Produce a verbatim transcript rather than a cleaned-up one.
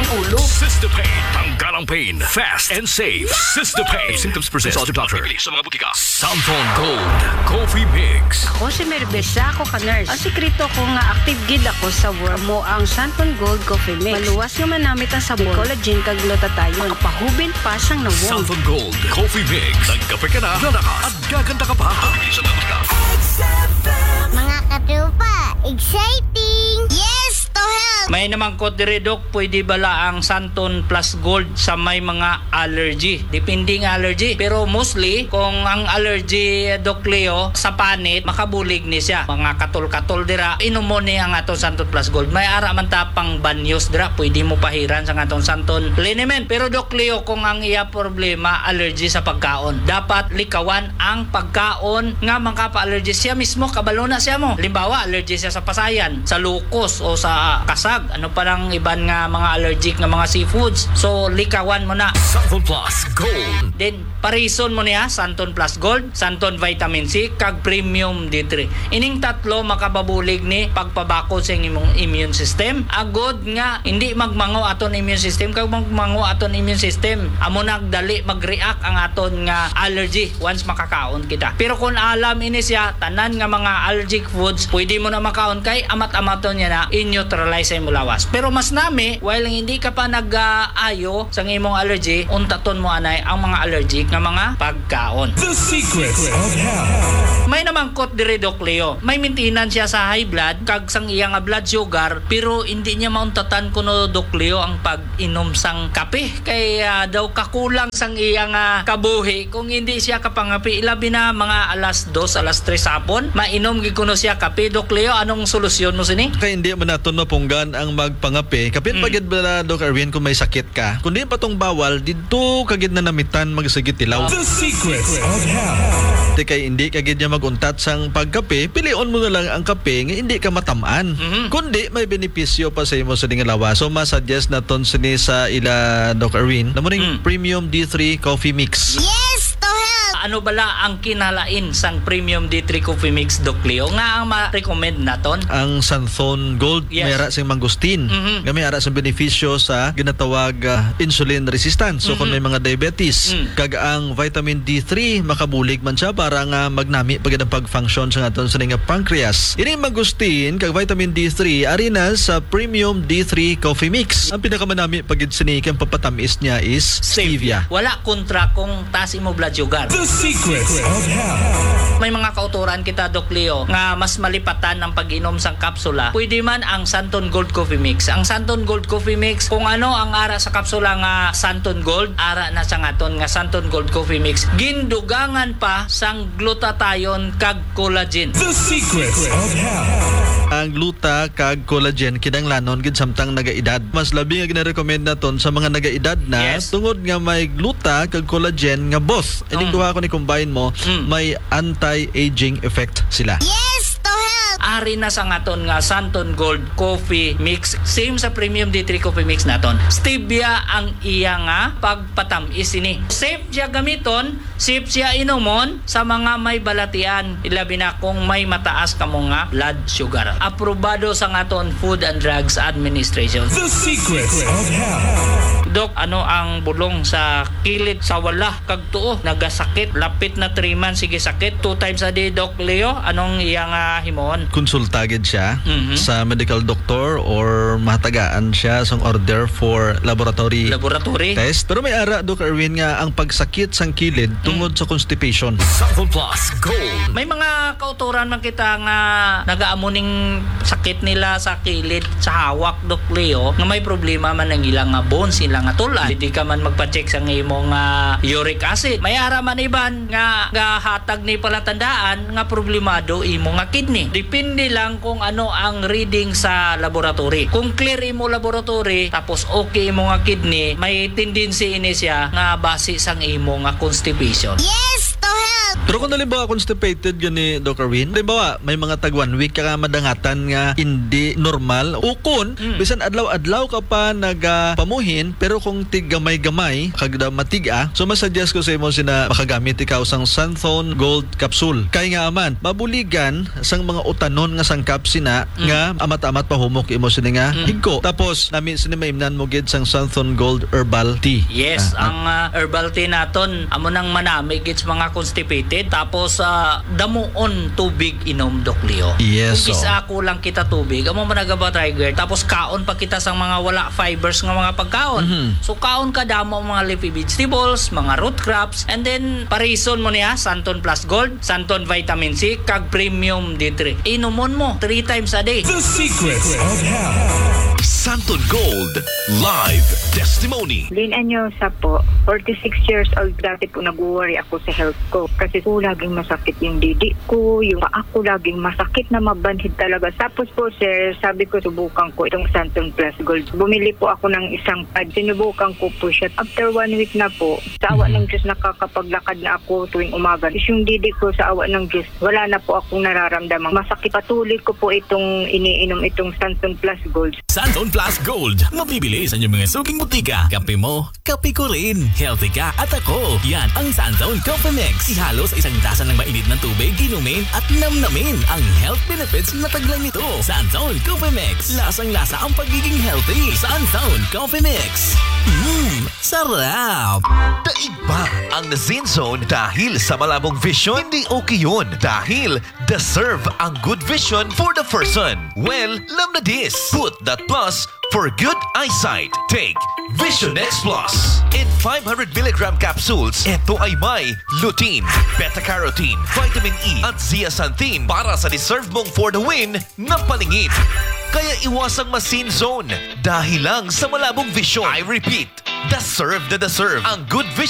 ulo. Sister Pain. Tanggal ang pain. Fast and safe. Sister Pain. If symptoms persist, consult your doctor. Sa mga butika. Santon Gold Coffee Mix. Ako si Mary Beth, ako ka nurse. Ang sikreto ko nga active gid ako sa work mo ang Santon Gold Coffee Mix. Maluwas nga manamit ang sabor. May collagen kag glutathione. Makapahubil pa sang nawong. Santon Gold Coffee Mix. Nagkape ka na, lalakas, at gaganda ka pa. Mga katropa, exciting! Yes to health! May namangkot diri, Doc, pwede bala ang Santon Plus Gold sa may mga allergy? Depende nga allergy. Pero mostly, kung ang allergy, Doc Leo, sa panit, makabulig ni siya. Mga katol-katol dira, inom mo ni ang aton Santon Plus Gold. May ara man ta pang banyos dira, pwede mo pahiran sa aton Santon liniment. Pero, Doc Leo, kung ang iya problema, allergy sa pagkaon, dapat likawan ang pagkaon nga makapa-allergy. Siya mismo, kabalo na siya mo. Halimbawa, allergy siya sa pasayan, sa lukos, o sa kasag. Ano pa lang iban nga mga allergic nga mga seafoods. So, likawan mo na. Santon Plus Gold. Then, parison mo niya, Santon Plus Gold, Santon Vitamin C, kag Premium D three. Ining tatlo makababulig ni pagpabakod sa imong immune system. Agod nga hindi magmango aton immune system, kag magmango aton immune system, amo nagdali mag-react ang aton nga allergy once makakaon kita. Pero kung alam ini siya, tanan nga mga allergic foods, pwede mo na makaon kay amat-amaton niya na i-neutralize sa imong lawas. Pero mas nami, while hindi ka pa nag-aayo sa imong allergy, untaton mo anay ang mga allergic nga mga pagkaon. The Secrets of Health. May namangkot diri, Doc Leo. May maintenance siya sa high blood kag sang iya nga blood sugar, pero hindi niya mauntatan kuno, Doc Leo, ang pag-inom sang kape. Kay, ah, daw kakulang sang iya nga kabuhi kung hindi siya kapangape. Ilabi na mga alas dos, alas tres hapon, mainom gid kuno siya kape. Doc Leo, anong solusyon mo sini? Kay hindi man naton mapunggan ang magpangape. Kapin pa Mm. gid bala, Doc Erwin, kung may sakit ka. Kung di pa tong bawal, didto ka gid na namitan magsigi tilaw. The Secrets of Health. Ti kay hindi ka gid niya mag-untat sang pagkape, pilion mo na lang ang kape nga hindi ka matamaan. Mhm. Kundi may benepisyo pa sa imo sa ding lawas. So, ma-suggest naton sini sa ila, Doc Erwin. Namo ning Mm. Premium D three Coffee Mix. Yes to health! Ano bala ang kinalain sang Premium D three Coffee Mix, Doc Leo, nga ang ma-recommend naton? Ang Santhon Gold, Yes. may ara sing mangosteen. Mhm. Nga may ara sing benepisyo sa ginatawag, ah, insulin resistance. So, kung Mhm. may mga diabetes, Mm. kag ang vitamin D three, makabulig man siya para nga magnami pa gid ang pag-function sa aton sini nga pancreas. Ining mangosteen kag vitamin D three, ari na sa Premium D three Coffee Mix. Ang pinakamanami pa gid sini kay ang papatamis niya is stevia. Wala kontra kung taas imo blood sugar. The Secrets of Health. May mga kautoran kita, Doc Leo, nga mas malipatan ang pag-inom sang kapsula. Pwede man ang Santon Gold Coffee Mix. Ang Santon Gold Coffee Mix, kung ano ang ara sa kapsula nga Santon Gold, ara na sa aton nga Santon Gold Coffee Mix. Gindugangan pa sang glutathione kag collagen. The Secrets of Health. Ang gluta kag collagen kinahanglanon gid samtang nagaedad. Mas labi nga ginarekomend naton sa mga nagaedad na Yes. tungod nga may gluta kag collagen nga both. Ining Mm. duha ko ni combine mo, Mm. may anti-aging effect sila. Yes to health! Ari na sa aton nga Santon Gold Coffee Mix. Same sa Premium D three Coffee Mix naton. Stevia ang iya nga pagpatamis ini. Safe siya gamiton, safe siya inomon sa mga may balatian, ilabi na kung may mataas kamo nga blood sugar. Aprobado sa aton Food and Drugs Administration. The Secrets of Health. Doc, ano ang bulong sa kilid sa wala kag tuo? Nagasakit, lapit na three months, sige sakit. Two times a day, Doc Leo. Anong iya nga himuon? Konsulta gid siya Mhm. sa medical doctor or mahatagaan siya sang order for laboratory Laboratory. test. Pero may ara, Doc Erwin, nga ang pagsakit sang kilid Mm. tungod sa constipation. Santon Plus Gold. May mga kautoran man kita nga nagaamo ning sakit nila sa kilid, sa hawak, Doc Leo, nga may problema man ang ilang nga bones, ilang nga tulad. Pwede ka man magpa-check sa imo nga uric acid. May ara man iban nga gahatag ni palatandaan nga problemado imo nga kidney. Depende lang kung ano ang reading sa laboratory. Kung clear imo laboratory, tapos okay imo nga kidney, may tendency ini siya nga basi sang imo nga constipation. Yes to health! Pero kung halimbawa constipated gani, Doc Erwin, halimbawa may mga tag one week ka nga madangatan nga hindi normal, o kun Mm. bisan adlaw-adlaw ka pa nagapamuhin, pero kung tig gamay-gamay kag da matig-a, so masuggest ko sa imo sina makagamit ikaw sang Santhon Gold capsule. Kay nga man, mabuligan sang mga utanon nga sangkap sina Mm. nga amat-amat pahumok imo sini nga Mm. higko. Tapos nami sini maimnan mo gid sang Santhon Gold Herbal Tea. Yes, Ah, ang ah, herbal tea naton amo nang manami gid sa mga constipated. Tapos ah, damuon tubig inom, Doc Leo. Yes, Kung so. Isa ako lang kita tubig, amo man nagaba trigger. Tapos kaon pa kita sa mga wala fibers nga mga pagkaon. Mhm. So kaon ka damo ang mga leafy vegetables, mga root crops, and then parison mo niya, Santon Plus Gold, Santon Vitamin C, kag Premium D three. Inumon mo three times a day. The Secrets of Health. Santon Gold Live Testimony. Lynn Anyosa po, forty-six years old. Dati po nag-worry ako sa health ko kasi po laging masakit yung didi ko, yung paa ko laging masakit na mabanhid talaga. Tapos po, sir, sabi ko subukan ko itong Santon Plus Gold. Bumili po ako ng isang pad. Sinubukan ko po siya. After one week na po, sa awa Mhm. ng Diyos, nakakapaglakad na ako tuwing umaga. Tapos yung didi ko, sa awa ng Diyos, wala na po akong nararamdaman. Masakit. Patuloy ko po itong iniinom, itong Santon Plus Gold. Santon Plus Gold. Mabibili sa inyong mga suking butika. Kape mo, kape ko rin. Healthy ka at ako. Yan ang Santon Coffee Mix. Ihalo sa isang tasa ng mainit na tubig, inumin at namnamin ang health benefits na taglay nito. Santon Coffee Mix. Lasang-lasa ang pagiging healthy. Santon Coffee Mix. Mmm, sarap! Daig ba ang Zen Zone dahil sa malabong vision? Hindi okay yun dahil deserve ang good vision for the person. Well, lam na this. Put that plus for good eyesight. Take Vision X Plus. In five hundred milligram capsules, ito ay may lutein, beta-carotene, vitamin E, at zeaxanthin para sa deserve mong for the win na paningin. Kaya iwasang ma-Zen Zone dahil lang sa malabong vision. I repeat, deserve na deserve ang good vision